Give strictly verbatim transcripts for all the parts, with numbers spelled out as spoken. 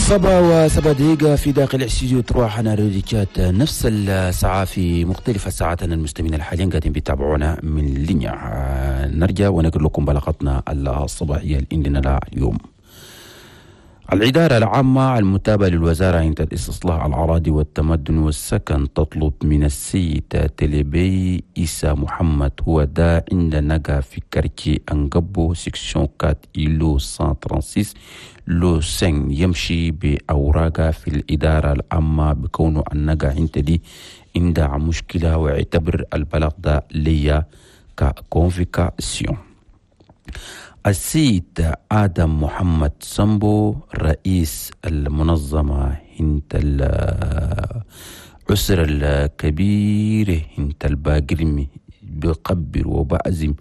سبعة وسبع دقيقة في داخل استديو تروح أنا روديكات، نفس الساعة في مختلف ساعاتنا. المستمعين الحاليين قاعدين بيتابعونا من لينيا، نرجع ونقول لكم بلاغتنا الصباحية اللي عندنا اليوم. الإدارة العامة المتابعة للوزارة عند الاستصلاح الأراضي والتمدن والسكن تطلب من السيد تلبي إيسا محمد، هو دا عند نقا في quartier أنقبو section quatre îlot مية وستة وثلاثين lot خمسة، يمشي بأوراقه في الإدارة العامة بكونه النقا عند دي عندها مشكلة، ويعتبر البلاغ ده ليا ك convocation. السيد آدم محمد سمبو، رئيس المنظمة هنت الأسر الكبير هنت الباقرمي، بقبر وبعزم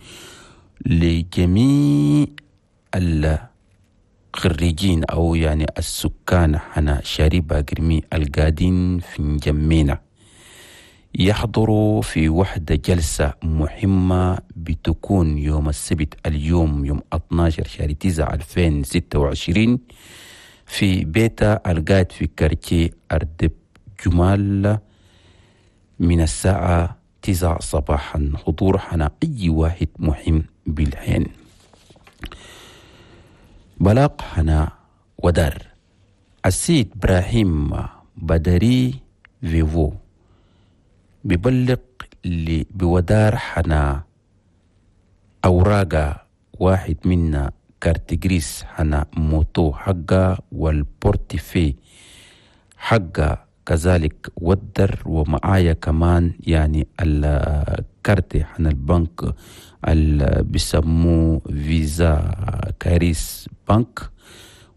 لجميع الخريجين أو يعني السكان حنا شاري باقرمي القادين في نجمينا يحضروا في وحدة جلسة مهمة بتكون يوم السبت اليوم يوم اتناشر شهر تسعة ألفين وستة وعشرين في بيتا القاعد في quartier أردب جمال من الساعة تسعة صباحا. حضور حنا أي واحد مهم بالحين. بلاغ حنا ودار، السيد إبراهيم بدري فيفو بيبلغ اللي بودار حنا أوراقا، واحد منا carte grise حنا moto حقا وال portefeuille حقا كذلك ودر، ومعايا كمان يعني الكارت حنا البنك اللي بيسموه فيزا كاريس بنك،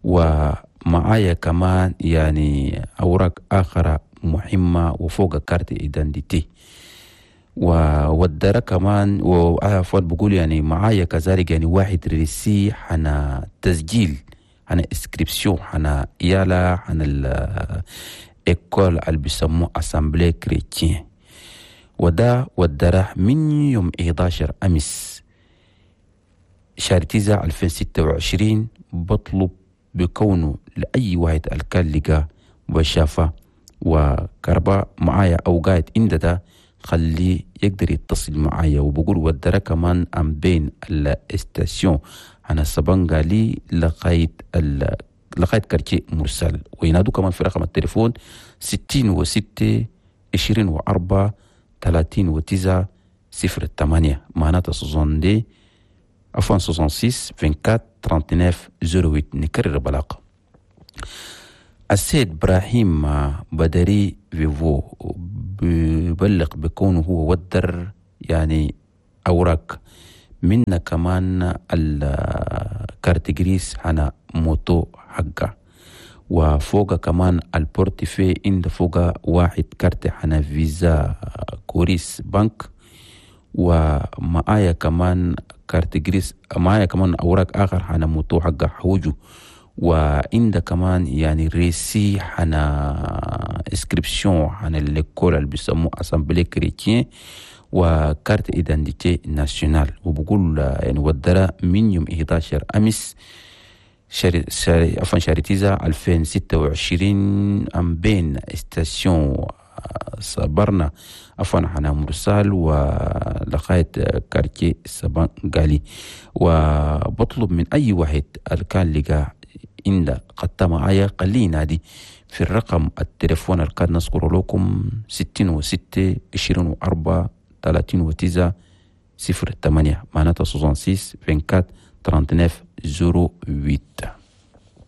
ومعايا كمان يعني أوراق أخرى مهمة وفوق carte d'identité وودر كمان. وعفوا، بقول يعني معايا كذلك يعني واحد reçu حنا تسجيل حنا inscription حنا يالا حنا ال école اللي بيسموه assemblée chrétienne، وده ودره من يوم إحداشر أمس شهر تسعة ألفين وستة وعشرين. بطلب بكونه لأي واحد الكان لقى وشافه وكرباء معايا أو قاعد عند ده خليه يقدر يتصل معايا. وبقول ودره كمان أم بين ال station أنا سبنغالي لغاية ال لغاية quartier مرسال، وينادوا كمان في رقم التليفون ستين وستة عشرين وأربعة ثلاثين وتسعة صفر ثمانية، معناتها soixante-deux، عفوا، ستة وستين أربعة وعشرين تسعة وثلاثين صفر ثمانية. نكرر بلاغ السيد إبراهيم بدري فيفو، بيبلغ بكونه هو ودر يعني أوراق منا كمان ال carte grise حنا moto حقه، وفوق كمان ال portefeuille عند فوق واحد كارت حنا فيزا كوريس بنك، ومعايا كمان carte grise، معايا كمان أوراق آخر حنا moto حقه حوجو، وعند كمان يعني reçu حنا inscription حنا l'école اللي بيسموه assemblée chrétienne و carte d'identité nationale. وبقول يعني ودرا من يوم إحداشر امس شهر شهر عفوا شهر تسعة ألفين وستة وعشرين أم بين station صبرنا، عفوا، حنا مرسال ولغاية quartier سبانغالي. وبطلب من أي واحد كان لقى عند قد معايا خليه ينادي في الرقم التليفون اللي كان نذكر لكم ستين وستة عشرين وأربعة ثلاثين وتسعة صفر ثمانية، معناتها ستة وستين أربعة وعشرين تسعة وثلاثين صفر ثمانية.